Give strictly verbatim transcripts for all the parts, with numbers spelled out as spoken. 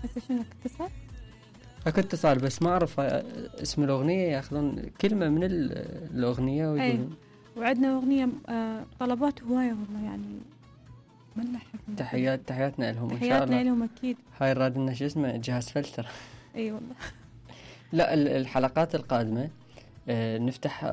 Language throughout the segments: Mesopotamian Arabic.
هسه شنو اتصال؟ اكو اتصال بس ما اعرف اسم الاغنيه، ياخذون كلمه من الاغنيه ويقولون. وعندنا اغنيه آه طلبات هوايه والله يعني ملحق. تحيات تحياتنا لهم ان شاء الله. تحياتنا لهم اكيد. هاي راد لنا شو اسمه جهاز فلتر. اي والله. لا الحلقات القادمه آه نفتح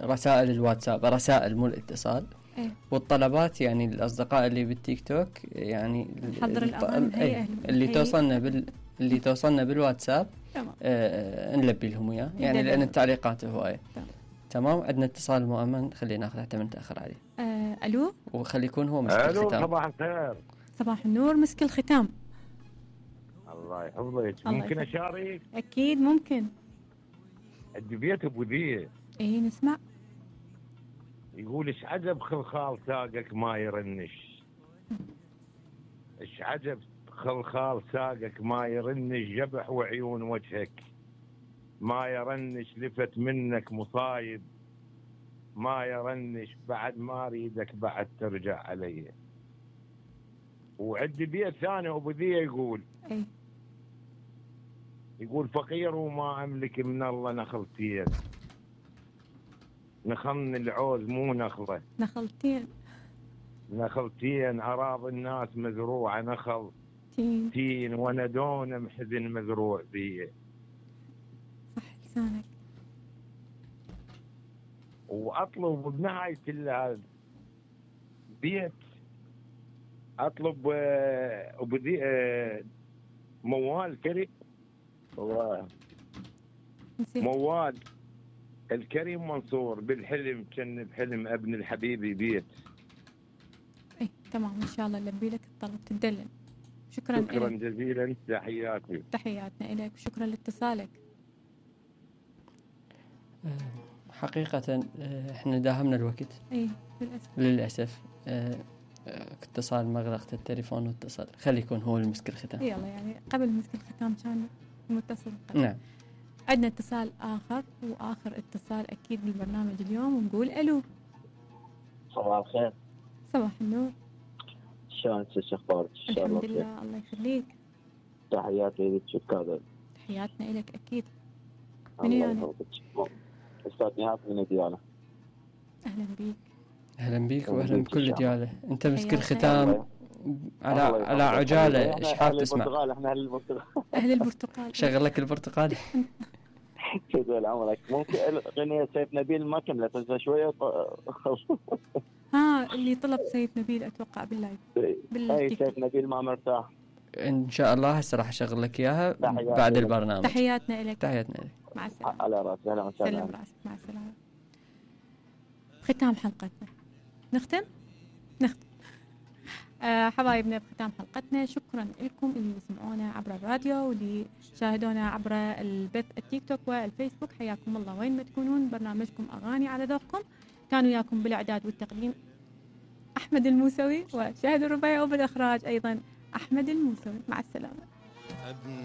رسائل الواتساب، رسائل مو الاتصال. ايه. والطلبات يعني الاصدقاء اللي بالتيك توك يعني نحضر الاغاني ايه اللي توصلنا بال اللي توصلنا بالواتساب تمام. آه نلبي لهم اياه يعني لان التعليقات هوايه. تمام. تمام. عندنا اتصال مؤمن، خلينا ناخذ حتى من نتاخر عليه. آه الو. وخلي يكون هو مسك الختام. صباح الخير. صباح النور، مسك الختام. الله يحفظك. ممكن اشارك؟ اكيد ممكن. عندي بيت ابو ذيه. ايه نسمع. يقول ايش عجب خلخال ساقك ما يرنش، ايش عجب خلخال ساقك ما يرنش، جبح وعيون وجهك ما يرنش، لفت منك مصايب ما يرنش، بعد ما اريدك بعد ترجع علي. وعندي بيت ثاني ابو ذيه يقول اي يقول فقير وما املك من الله نخلتين، نخلني العوز مو نخله، نخلتين نخلتين اراضي الناس مزروعه نخل تين تين، وانا دون محزن مزروع بيه. صح لسانك. واطلب بنهايه البيت اطلب ابو ذي موال كريم والله موال الكريم منصور بالحلم كان بحلم ابن الحبيبي بيت. ايه تمام ان شاء الله نلبي لك الطلب تدلل. شكرا شكرا إليك. جزيلا. تحياتي. تحياتنا لك وشكرا لاتصالك. حقيقة احنا داهمنا الوقت. ايه للأسف. للأسف اتصال مغلقة التليفون واتصل، خلي يكون هو المسك الختام. يلا يعني قبل مسك الختام كان متصل قبل. نعم. عندنا اتصال آخر وآخر اتصال أكيد بالبرنامج اليوم، ونقول ألو. صباح الخير. صباح النور. شلونك؟ شو اخبارك؟ الحمد لله الله يخليك. تحياتي لك. شكرا. تحياتنا لك أكيد. من يعني؟ أستاذ نهاد من ديالة. أهلا بيك. أهلا بيك وأهلا بكل ديالة. أنت مسك الختام على على عجالة. إيش حاب تسمع؟ البرتقال. إحنا أهل البرتقال. أهل البرتقال. شغل لك البرتقال. طول عمرك. ممكن غنية سيف نبيل ما كملت هسه شوية. ها اللي طلب سيف نبيل أتوقع باللايف. أي سيف نبيل ما مرتاح. إن شاء الله هسه راح أشغل لك إياها بعد البرنامج. تحياتنا لك. تحياتنا لك. مع السلامة. على راسي. أهلا وسهلا. سلم راسك. مع السلامة. ختام حلقتنا. نختم؟ نختم. آه حبايبنا بختام حلقتنا، شكرا لكم اللي سمعونا عبر الراديو واللي شاهدونا عبر البث التيك توك والفيسبوك. حياكم الله وين ما تكونون. برنامجكم أغاني على ذوقكم، كانوا وياكم بالإعداد والتقديم أحمد الموسوي، وشاهد الربيع، وبالإخراج أيضا أحمد الموسوي. مع السلامة.